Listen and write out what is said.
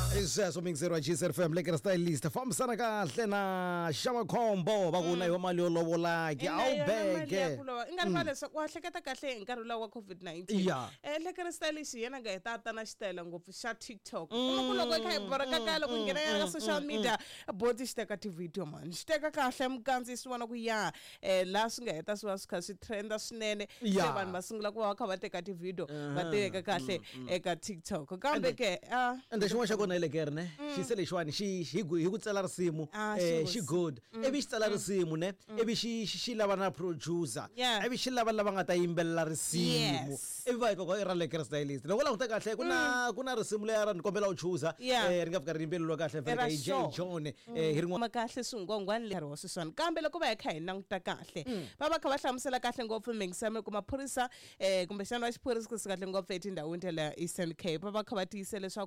I sweswo mixer wa GSR FM Lekker Stylist fambisana kahle na Xamakhombo va ku na yo mali yo lovola ke a wu beke. I nga rivala leswaku wa hleketa kahle hi nkarhi lowu wa COVID-19. Lekker Stylist hi yena nga heta ta na xitayela ngopfu xa TikTok. Kuma ku loko i kha hi borheka kaya, loko hi nghena yana ka social media, boti xi teka ti-video man, xi teka kahle mukandziyisi vona ku ya laha swi nga heta swi va swi kha swi trenda swinene. Se vanhu va sungula ku va va kha va teka ti-video, va teka kahle eka TikTok, kambe ke a Ende xin'wana xa kona hi Lekker ne, xi se lexiwani xi hi ku tsala risimu. Xi xi good, ivi xi tsala risimu ne, ivi xi lava na producer, ivi xi lava lava nga ta yimbelela risimu, ivi va hi ku i ra Lekker Stylist. Loko u languta kahle, ku na risimu leri ra ni kombela u chuza, ri nga fika ri yimbeleriwa kahle vhele Ra hi J John, hi rin'wana. Ma kahle swingwangwani nkarhi wa sweswiwani, kambe loko va hi kha hi languta kahle, va va kha va hlamusela kahle ngopfu mingisame ku maphorisa, kumbexana va xiphorisa kahle ngopfu etindhawini ta le Eastern Cape, va va kha va tiyisa leswaku